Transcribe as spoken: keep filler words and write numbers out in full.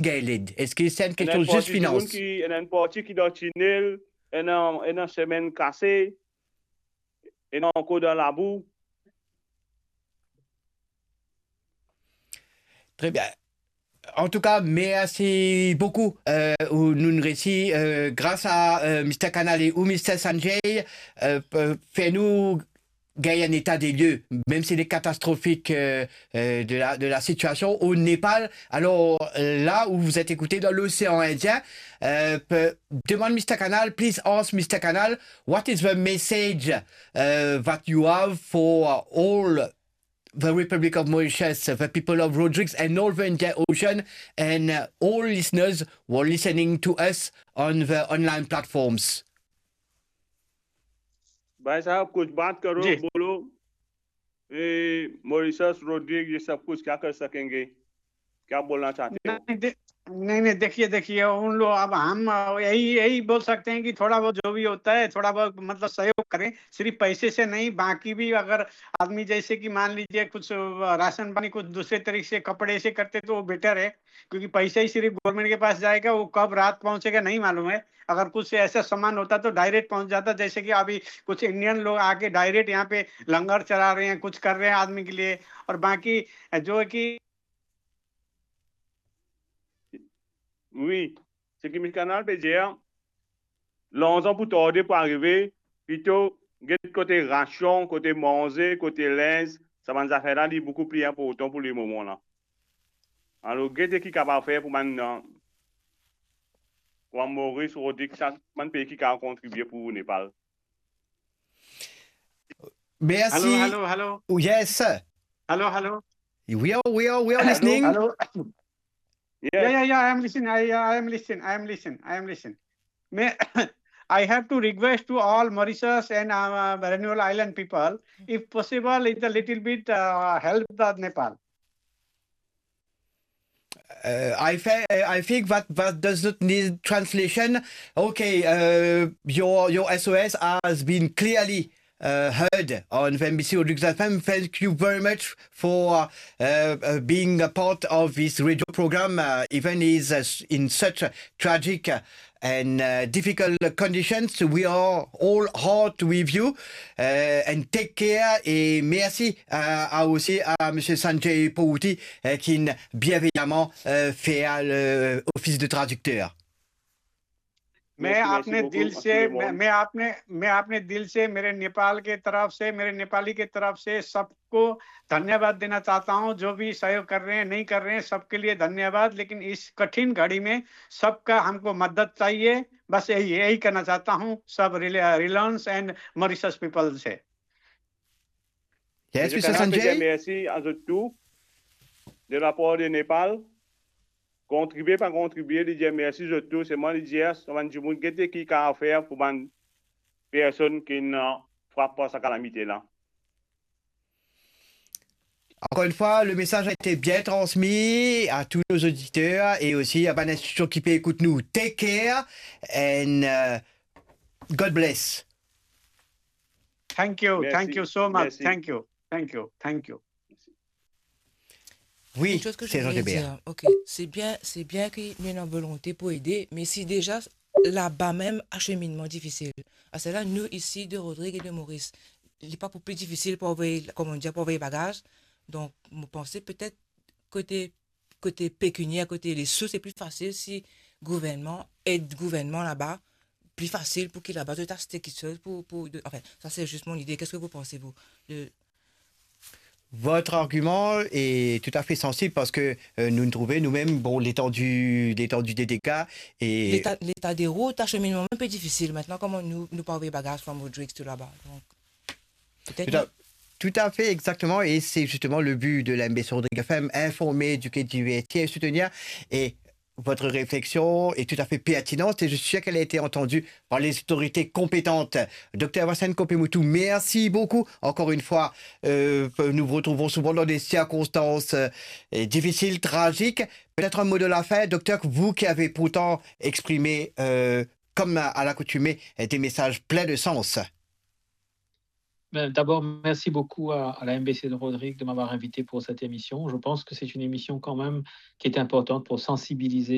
gagn led? Eski se enn kestyon zis finans? Ena enn parti dimoun ki, ena enn parti ki dan tinel, ena, ena semenn kase, ena ankor dan labou. Tre bien. Antouka, mersi boukou. Euh, ou, nou, nou resi, euh, gras a, euh, Mister Kanal e ou Mister Sanjay, euh, pe-, fer nou gagn enn eta de lie, mem si li katastrofik, euh, euh, de la, de la sitiasion o Nepal. Alor, euh, la où vous êtes écouté dans l'océan Indien, euh, pe-, demann Mister Kanal, please ask Mister Kanal, what is the message, uh, that you have for all the Republic of Mauritius, the people of Rodrigues and all the Indian Ocean, and, uh, all listeners who are listening to us on the online platforms? भाई साहब, कुछ बात करो, जी। बोलो। ए, Mauritius, Rodrigues, ये सब कुछ क्या कर सकेंगे? क्या बोलना चाहते हो? नहीं, दे-, नहीं, नहीं, देखिए, देखिए, उन लोग, अब हम, अ, यही, यही बोल सकते हैं कि थोड़ा बहुत जो भी होता है, थोड़ा बहुत, मतलब, सहयोग करें, सिर्फ पैसे से नहीं, बाकी भी अगर आदमी, जैसे कि मान लीजिए, कुछ, अ, राशन पानी, कुछ दूसरे तरीके से, कपड़े से करते, तो वो बेटर है, क्योंकि पैसा ही सिर्फ गवर्नमेंट के पास जाएगा, वो कब रात पहुंचेगा, नहीं मालूम है। अगर कुछ ऐसा सामान होता, तो डायरेक्ट पहुंच जाता, जैसे कि अभी कुछ इंडियन लोग आके डायरेक्ट यहाँ पे लंगर चला रहे हैं, कुछ कर रहे हैं आदमी के लिए, और बाकी जो है कि Wi, seki Mister Kanal pe dir, larzan pou tarde pou arive, plito get kote rasion, kote manze, kote linz, sa bann zafer la, li boukou pli inportan pou lemoman la. Alor, gete ki kapav fer pou bann, euh, pou bann Moris, Rodik, sa bann pei ki kapav kontribie pou Nepal. Merci. Hello, hello, hello. Oh, yes, sir. Hello, hello. We are, we are, we are listening. Hello. Yeah, yeah, yeah, I am listening. I, I am listening. I am listening. I am listening. May, I have to request to all Mauritius and, uh, Reunion Island people, if possible, it's a little bit, uh, help the Nepal. Uh, I, fe- uh, I think that, that does not need translation. Okay, uh, your, your S O S has been clearly, uh, heard on the M B C Rodrigues F M. Thank you very much for, uh, uh, being a part of this radio program, uh, even is, uh, in such a tragic, uh, and, uh, difficult conditions. We are all heart with you, uh, and take care. Et merci à, à aussi à Monsieur Sanjay Pouti, euh, qui bienveillamment, euh, fait, euh, le office de traducteur. मैं अपने दिल से, मैं, मैं अपने, मैं अपने दिल से, मेरे नेपाल के तरफ से, मेरे नेपाली के तरफ से सबको धन्यवाद देना चाहता हूं। जो भी सहयोग कर रहे हैं, नहीं कर रहे हैं, सबके लिए धन्यवाद। लेकिन इस कठिन घड़ी में सबका हमको मदद चाहिए। बस यही, यही कहना चाहता हूं सब relay-, Reliance and Mauritius people से। Yes, Mister Sanjay. Mersi a zot tou, de lapar de Nepal. Kontribie, pa kontribie, li dir mersi zot tou. Selman li dir, sa bann dimoun gete ki kapav fer pou bann personn ki ena frap par sa kalamite la. Encore une fois, le message a été bien transmis à tous nos auditeurs et aussi à bann institusion ki pe ekout nou. Take care and, uh, God bless. Thank you, thank you so much. Thank you, thank you, thank you. Oui, c'est Jean Gilbert. Ok, c'est bien, c'est bien ki nou ena volonte pou ede, me si deza laba mem aseminnman difisil. Aster la, nou isi de Rodrig e de Moris, li pa pou pli difisil pou anvoy, kouma dir, pou anvoy bagaz. Donk, mo panse petet kote, kote pekinier, kote lesous, se pli fasil si gouvernman ed gouvernman laba, pli fasil pou ki laba zot aste kiksoz pou, pou, de, enfin, ça c'est juste mon idée. Qu'est-ce que vous pensez, vous, de, Votre argument est tout à fait sensible parce que, euh, nou trouve nou mem, bon, letandi, letandi de dega e leta, leta de rout, aseminnman mem pe difisil. Aster la, kouma nou, nou pou anvoy bagaz from Rodrigues to laba? Donk, petet... Tout à, tout à fait, exactement. Et c'est justement le but de la M B C Rodrigue F M, informer, éduquer, divertir et soutenir. Et votre réflexion est tout à fait pertinente et je suis sûr qu'elle a été entendue par les autorités compétentes. Docteur Vincent Kopemoutou, merci beaucoup. Encore une fois, euh, nous vous retrouvons souvent dans des circonstances, euh, difficiles, tragiques. Peut-être un mot de la fin, docteur, vous qui avez pourtant exprimé, euh, comme à, à l'accoutumée, des messages pleins de sens. Ben, d'abord, merci beaucoup à, à la M B C de Rodrigue de m'avoir invité pour cette émission. Je pense que c'est une émission quand même qui est importante pour sensibiliser